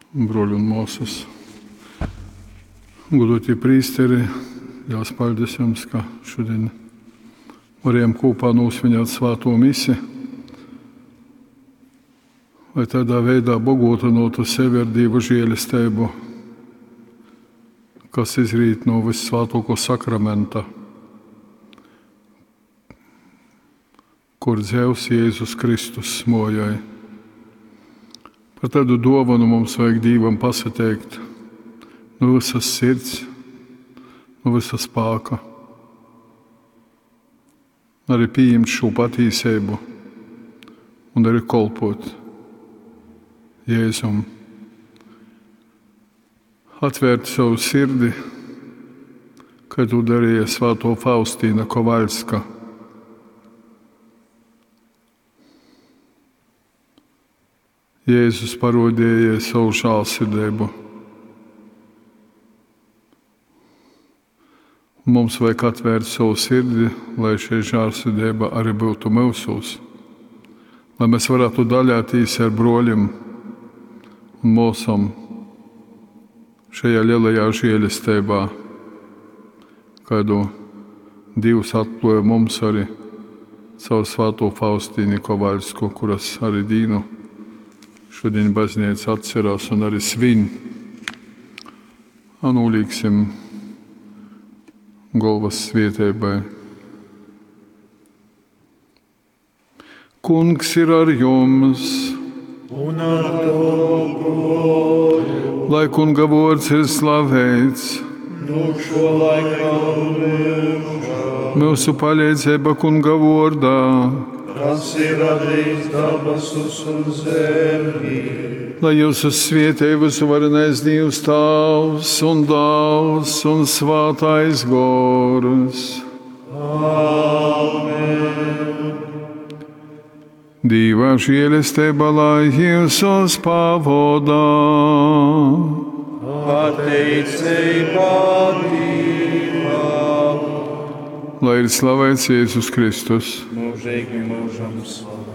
Bruoļi un muosys, goduotī prīsteri, liels paļdis jums, ka šodien varējām kūpā nūsvinēt svātū misi, lai tādā veidā bogotynuotu sevi ar Dīva žielesteibu, kas izrīt no Vyssvātuokuo sakramenta, kur dzeivs Jēzus Kristus muojoj. Par tādu dāvanu mums vajag Dīvam pasateikt no visas sirds, no visa spēka. Arī pieņemt šo patīsību un arī kolpot Jēzum. Atvērt savu sirdi, kā to darīja Svēto Faustīna Kovaļska. Jēzus parodīja savu žēlsirdību. Mums vajag atvērt savu sirdi, lai šī žēlsirdība arī būtu mūsos. Lai mēs varētu daļāties ar broļiem un māsām šajā lielajā žēlestībā, kādu Dievs atklāja mums arī caur Svēto Faustīnu Kovaļsku, kuras arī dīnu šodien baznīca atcerās un arī svin. Nolīksim galvas svietēbai. Kungs ir ar jums! Un ar tavu goru. Lai kunga vārds ir slavēts! Nu šo laikā un mūžā. Mūsu palīdzība kunga vārdā! Kas ir radījis dabasus un zemi. Lai jūs svietē visuvarenais Dievs Tēvs un Dēls un Svētais Gors. Āmen. Dīva žēlestība lai jūs pavodā. Pateicība Dievam. Lai ir slavēts Jēzus Kristus. Mūžīgi mūžam slavēts.